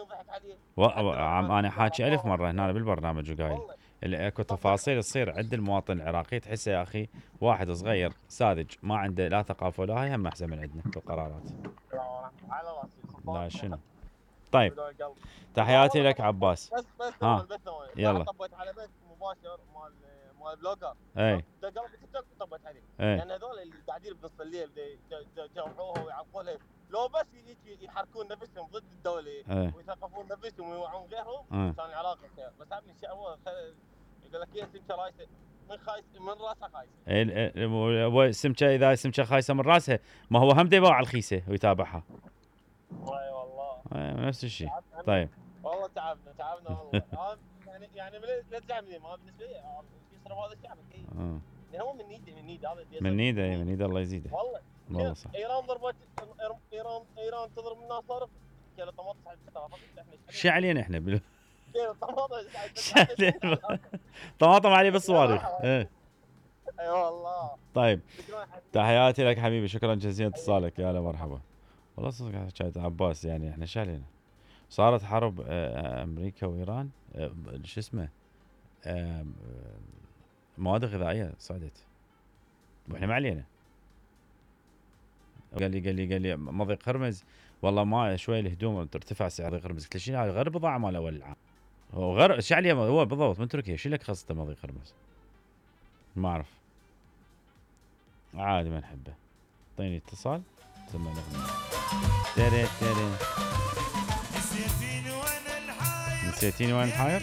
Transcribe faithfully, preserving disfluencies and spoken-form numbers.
ينضحك عليه. و... عم انا حاكي الف مره هنا بالبرنامج وقايل اللي اكو تفاصيل تصير عند المواطن العراقي تحسه يا اخي واحد صغير ساذج ما عنده لا ثقافه ولا هاي هم احسن من عندنا بالقرارات. على راسي. لا شنو. طيب تحياتي لك عباس. بس بس ها يلا طبيت على بيت مباشر مال مال بلوجر. اي دق في تيك توك طبيت عليه. اي يعني هذول اللي قاعدين بنص الليل يجرحوها ويعقولها لو بس يجي يحركون نفسهم ضد الدوله ويثقفون نفسهم ويوعون غيرهم كان العراق خير. بس هم الشيء هو يقول لك يا سمكه رايسه من خايس من راسها خايسه. اي سمكه اذا سمكه خايسه من راسها ما هو هم يباوع على الخيسه ويتابعها. اي والله نفس الشيء. طيب والله تعبنا تعبنا والله. يعني يعني لا تزعلني ما بالنسبه لي يصرف هذا الشعب اكيد. يعني هو من نيده من نيده هذا من نيده من نيده الله يزيده. والله والله صح. ايران ضربت ايران ايران تضرب الناس صارخ كيلو طماطم سعد احنا شو علينا احنا بال... كيلو طماطم طماطم عليه بالصواريخ. ايه اي والله. طيب تحياتي لك حبيبي شكرا جزيلا اتصالك يا هلا مرحبا. والله صدق حكايه عباس يعني احنا شو علينا. صارت حرب امريكا وايران شو اسمه مواد غذائيه صعدت واحنا ما علينا. قال لي قال لي قال لي مضيق هرمز والله ما شوي الهدوم ترتفع سعر مضيق هرمز. قلت له شنو هذا غير بضاعه مال اول العام. هو غير شو عليه هو بالضبط من تركيا شو لك خاصه مضيق هرمز ما اعرف عادي ما نحبه. اعطيني اتصال سمعنا اغنيه تري تري نسيتيني وانا الحاير نسيتيني وانا الحاير